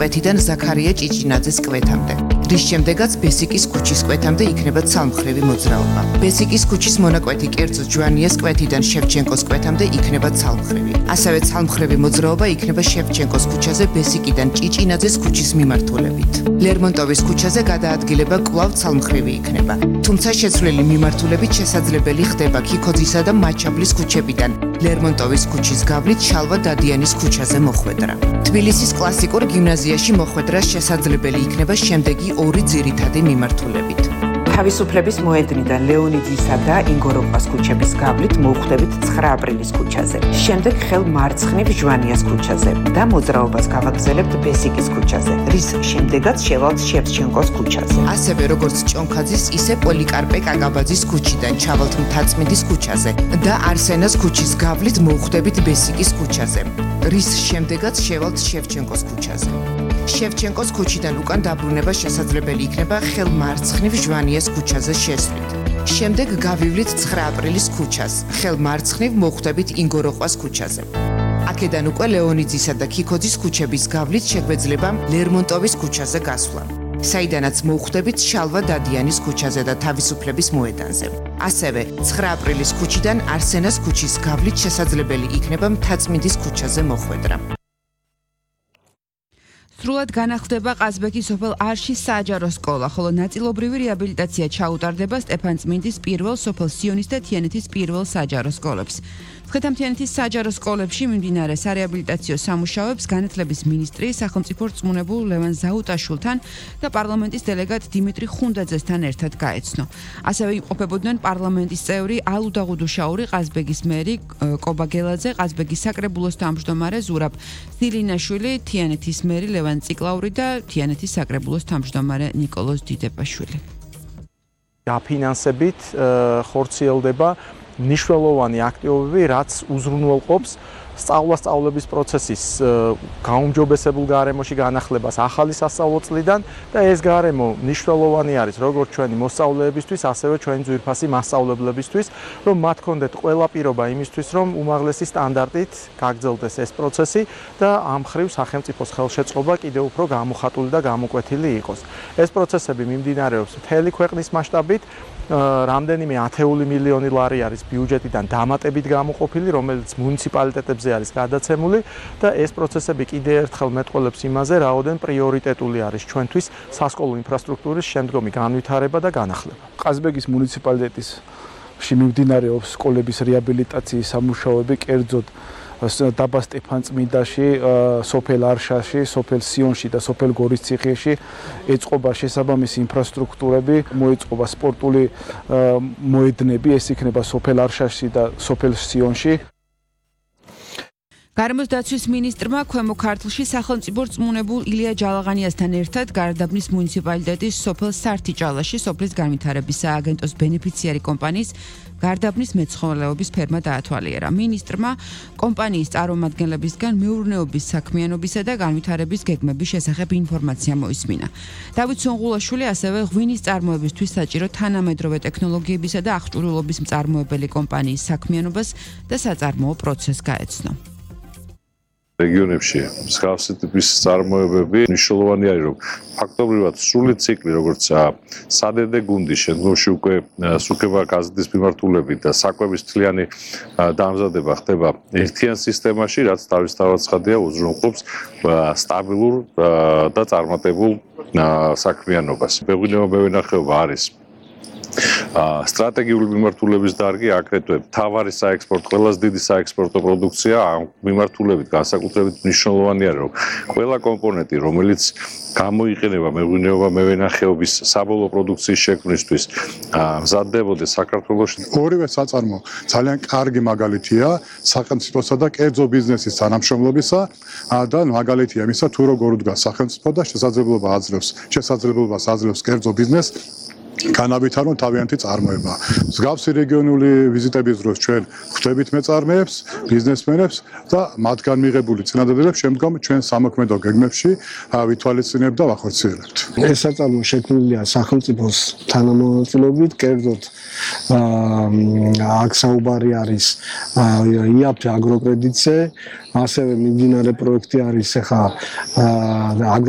კვეთიდან ზაქარია ჭიჭინაძის კვეთამდე. რის შემდეგაც ბესიკის ქუჩის კვეთამდე იქნება ცალმხრივი მოძრაობა. ბესიკის ქუჩის მონაკვეთი კერძო ჯვანიას კვეთიდან შევჩენკოს კვეთამდე იქნება ცალმხრივი. ასევე ცალმხრივი მოძრაობა იქნება შევჩენკოს ქუჩაზე ბესიკიდან ჭიჭინაძის ქუჩის მიმართულებით. ლერმონტოვის ქუჩაზე გადაადგილება კვლავ ცალმხრივი იქნება. თუმცა შეცვლილი მიმართულებით შესაძლებელი ხდება ქიქოძისა და მაჩაბლის ქუჩებიდან ლერმონტოვის ქუჩის გავლით შალვა დადიანის ქუჩაზე მოხვედრა. თბილისის კლასიკურ გიმნაზიაში მოხვედრა შესაძლებელი იქნება შემდეგი ორი ძირითადი მიმართულებით. თავისუფლების მოედნიდან ლეონიდისა და ინგოროყვას ქუჩების გავლით მოვხვდებით 9 აპრილის ქუჩაზე. შემდეგ ხელმარცხნივ ჟვანიას ქუჩაზე და მოძრაობას გავაგრძელებთ ბესიკის ქუჩაზე, რის შემდეგაც შევალთ შევჩენკოს ქუჩაზე. ასევე როგორც ჭონქაძის, ისე პოლიკარპე კაკაბაძის ქუჩიდან ჩავალთ მთაწმინდის ქუჩაზე და არსენას ქუჩის გავლით მოვხვდებით ბესიკის ქუჩაზე, რის შემდეგაც შევალთ შევჩენკოს ქუჩაზე. შევჩენკოს ქუჩიდან უკან დაბრუნება შესაძლებელი იქნება ხელმარცხნივ ჟვანიას ქუჩაზე შესვლით. შემდეგ გავივლით 9 აპრილის ქუჩას, ხელმარცხნივ მოხვდებით ინგოროყვას ქუჩაზე. აქედან უკვე ლეონიძისა და ქიქოძის ქუჩების გავლით შეგვეძლება ლერმონტოვის ქუჩაზე გასვლა, საიდანაც მოხვდებით შალვა დადიანის ქუჩაზე და თავისუფლების მოედანზე. ასევე 9 აპრილის ქუჩიდან არსენას ქუჩის გავლით შესაძლებელი იქნება მთაწმინდის ქუჩაზე მოხვედრა. სრულად განახლდება ყაზბეგის სოფელ არშის საჯარო სკოლა, ხოლო ნაწილობრივი რეაბილიტაცია ჩაუტარდება სტეფანწმინდის პირველ სოფელ სიონის და თიანეთის პირველ საჯარო სკოლებს. მცხეთა-მთიანეთის საჯარო სკოლებში მიმდინარე სარეაბილიტაციო სამუშაოებს განათლების მინისტრი სახელმწიფო რწმუნებულ ლევან ზაუტაშვილთან და პარლამენტის დელეგატ დიმიტრი ხუნდაძესთან ერთად გაეცნო. ასევე იმყოფებოდნენ პარლამენტის წევრი ალუდა ღუდუშაური, ყაზბეგის მერი კობა გელაძე, ყაზბეგის საკრებულოს თავმჯდომარე ზურაბ სილინაშვილი, თიანეთის მერი ლევან ციკლაური და თიანეთის საკრებულოს თავმჯდომარე ნიკოლოზ დიდებაშვილი. დაფინანსებით ხორციელდება მნიშვნელოვანი აქტივობები, რაც უზრუნველყოფს სწავლების პროცესის გაუმჯობესებულ გარემოში განახლებას ახალი სასწავლო წლიდან და ეს გარემო მნიშვნელოვანი არის როგორც ჩვენი მოსწავლეებისთვის, ასევე ჩვენი ძვირფასი მასწავლებლებისთვის, რომ მათ ჰქონდეთ ყველა პირობა იმისთვის, რომ უმაღლესი სტანდარტით გაგრძელდეს ეს პროცესი და ამ მხრივ სახელმწიფოს ხელშეწყობა კიდევ უფრო გამოხატული და გამოკვეთილი იყოს. ეს პროცესები მიმდინარეობს მთელი ქვეყნის მასშტაბით. რამდენიმე ათეული მილიონი ლარი არის ბიუჯეტიდან დამატებით გამოყოფილი, რომელიც მუნიციპალიტეტებზე არის გადაცემული და ეს პროცესები კიდევ ერთხელ მეტყველებს იმაზე, რაოდენ პრიორიტეტული არის ჩვენთვის სასკოლო ინფრასტრუქტურის შემდგომი განვითარება და განახლება. ყაზბეგის მუნიციპალიტეტში მიმდინარეობს სკოლების რეაბილიტაციის სამუშაოები, კერძოდ დაბა სტეფანწმინდაში, სოფელ არშაში, სოფელ სიონში და სოფელ გორისციხეში ეწყობა შესაბამისი ინფრასტრუქტურები, მოეწყობა სპორტული მოედნები, ეს იქნება სოფელ არშაში და სოფელ სიონში. გარემოს დაცვის მინისტრმა ქვემო ქართლში სახელმწიფო რწმუნებულ ილია ჯალაღანიასთან ერთად გარდაბნის მუნიციპალიტეტის სოფელ სართიჭალაში სოფლის განვითარების სააგენტოს ბენეფიციარი კომპანიის გარდაბნის მეცხოველეობის ფერმა დაათვალიერა. მინისტრმა კომპანიის წარმომადგენლებისგან მეურნეობის საქმიანობისა და განვითარების გეგმების შესახებ ინფორმაცია მოისმინა. დავით სონღულაშვილი ასევე ღვინის წარმოებისთვის საჭირო თანამედროვე ტექნოლოგიებისა და აღჭურვილობის მწარმოებელი კომპანიის საქმიანობას და საწარმოო პროცესს გაეცნო. რეგიონებში მსგავსი ტიპის წარმოებები მნიშვნელოვანი არის, რომ ფაქტობრივად სრული ციკლი, როგორც სადედე გუნდი, შემდგომში უკვე სუქება გაზეთის მიმართულებით და საკვების მთლიანი დამზადება ხდება ერთიან სისტემაში, რაც თავისთავად ცხადია უზრუნველყოფს სტაბილურ და წარმატებულ საქმიანობას. მეღვინეობა მევენახეობა არის სტრატეგიული მიმართულების დარგი, აგრეთვე მთავარი საექსპორტო, ყველაზე დიდი საექსპორტო პროდუქცია ამ მიმართულებით განსაკუთრებით მნიშვნელოვანი არის, რომ ყველა კომპონენტი, რომელიც გამოიყენება მეღვინეობა მევენახეობის საბოლოო პროდუქციის შექმნისთვის, მზადდებოდეს საქართველოში. ორივე საწარმო ძალიან კარგი მაგალითია სახელმწიფოსა და კერძო ბიზნესის თანამშრომლობისა და მაგალითია იმისა, თუ როგორ უდგას სახელმწიფო და შესაძლებლობას აძლევს კერძო ბიზნესს განავითარონ თავიანთი წარმოება. მსგავსი რეგიონული ვიზიტების დროს ჩვენ ხვდებით მეწარმეებს, ბიზნესმენებს და მათგან მიღებული წინადადებებს შემდგომ ჩვენ სამოქმედო გეგმებში ვითვალისწინებთ და ვახორციელებთ. ეს საწარმო შექმნილია სახელმწიფოს თანამონაწილეობით, კერძოდ აქ საუბარი არის იაფთ აგროკრედიტზე, ასევე მიმდინარე პროექტი არის ახლა აგრო